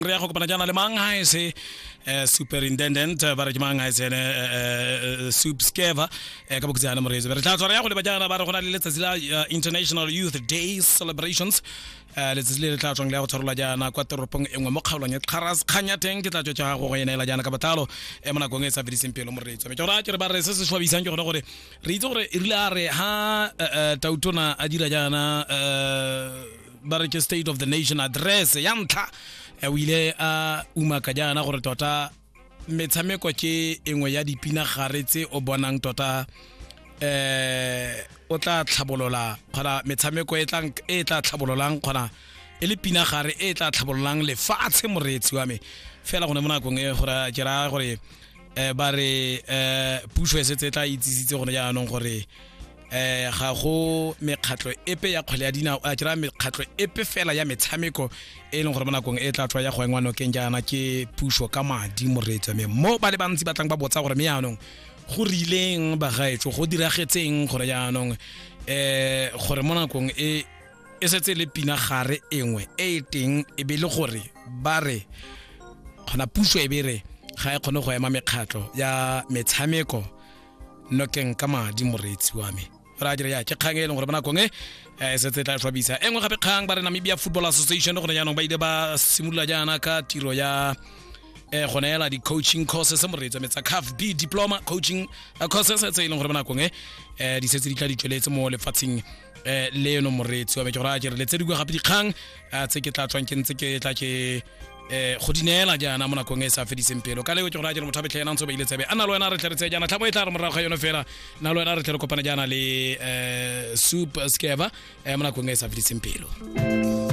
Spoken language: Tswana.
Re ya go kopana jaana le mang ha e se superintendent, ba re ke mang ha e se ene Soup Skeva ka bokhutshwane moreetsi. Re tla tswa re ya go leba jaana, ba re go na le letsatsi la International Youth Day celebrations, letsatsi le le tla tswang le ya go tshwarelwa jaana kwa toropong e nngwe mo kgaolong ya Kgaras. Kgang ya teng ke tla tswa tsa gago go e neela jaana ka botlalo mo nakong e e sa fediseng pelo, moreetsi. Mme ke gore ke re ba re se se swabisang ke gone gore re itse gore e rile a re ha tautona a dira jaana, ba re ke State of the Nation Address ya ntlha, o ile a umaka jaana gore tota metshameko ke engwe ya dipinagare tse o bonang tota o tla tlhabolola kgona metshameko e tlang e tla tlhabololang, kgona e le pinagare e tla tlhabololang lefatshe, moreetsi wa me. Fela gone mo nakong e gore ke raya gore ba re puso e setse e tla itsisitse gone jaanong gore ga go mekgatlho epe ya kgwele ya dinao, a ke raya mekgatlho epe fela ya metshameko e leng gore mo nakong e tla tswa ya go engwa nokeng jaana ke puso ka madi, moreetsi wa me. Mo ba le bantsi ba tlang ba botsa gore mme jaanong go rileng, bagaetso, go diragetseng gore jaanong gore mo nakong e e setse le pinagare engwe e e teng e be le gore ba re kgona puso e be re ga e kgone go ema mekgatlho ya metshameko nokeng ka madi, moreetsi wa me. Re a dire ya ke kgang e leng gore mo nakong e e setse e tla tlhwabisa. E nngwe gape kgang, ba re Namibia Football Association gone jaanong ba ile ba simolola jaana ka tiro ya go neela di-coaching courses, moreetsi wa me, tsa CAF B diploma coaching courses tse e leng gore mo nakong e di setse di tla di tsweletse mo lefatsheng leno, moreetsi wa me. Ke gore a ke re le tse dingwe gape dikgang tse ke tla tswang ke ntse ke tla ke go di neela jaana mo nakong e e sa fediseng pelo ka leo. Ke gore a ke re motho a betlhe ena ntse o beile tsebe a na le wena, re tle re tseye jaana tlhamo e tla re morago ga yone fela na le wena re tle re kopane jaana le Soup Skeva mo nakong e e sa fediseng pelo.